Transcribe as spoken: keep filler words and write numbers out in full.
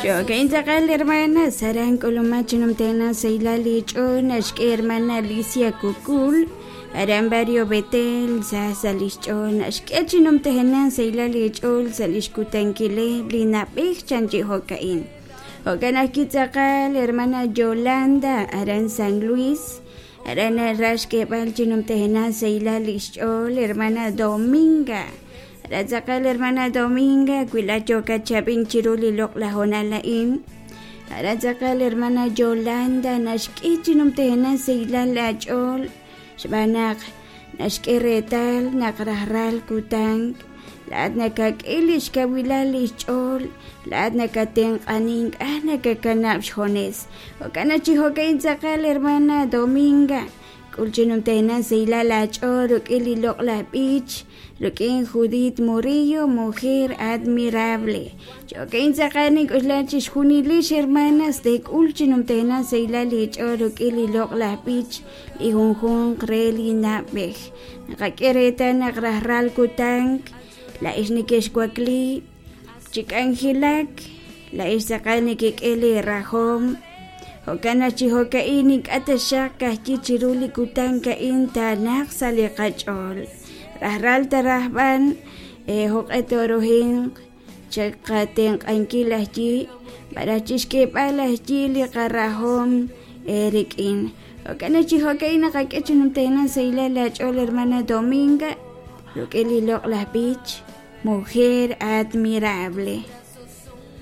Jo'kan tz'aqal hermana saran k'uluma chinumtena sahilal lich'ool naxk'e hermana Alicia Kukul aran barrio Betel sa sa' li xch'ool naxk'e chinumtejena sahilal lich'ool sa' li xkutankileb' li nab'ej chan chi jo'ka'in jo'kan ajwi' tz'aqal hermana Yolanda aran San Luis aran naraj xk'eeb'al chinumtejena sahilal li xch'ool hermana Dominga aran tz'aqal hermana Dominga wi laat yookat chab'ink chiru li loq'laj hoonal a'in aran tz'aqal hermana Yolanda naxk'e chinumtejena sahilal laach'ool xb'aan naq naxk'e reetal naq rajlal kutan laat nakak'e li xkawilal li xch'ool laat nakatenq'anin k'a nakakanab' xjones jo'kan naq chi jo'ka'in tz'aqal hermana Dominga k'ul chinumtejena sahilal laach'ool rik'in li loq'laj b'ich rik'in Judith Murillo mujer admirable jo'ka'in tz'aqal nink'uxla chixjunilix hermanas teek'ul chinumtejena sahilal lich'ool rik'in li loq'laj b'ich li junjunq re li nab'ej naqak'e reetal naq rajlal kutan la'ex neke'xwakli chi k'anjelak la'ex tz'aqal nekek'e li rajom jo'kan naq chi jo'ka'in ink'a' taxaq kajyi chiru li kutan ka'in taanaq sa' li qach'ool rajlal tarajb'an jo'q'e toruhinq chaqatenq'ankil ajyi malaj chixk'eeb'al ajyi li qarajom rik'in jo'kan naq chi jo'ka'in naqak'e chinumtejena sahilal laach'ool hermana Dominga rik'in li loq'laj b'ich mujer admirable.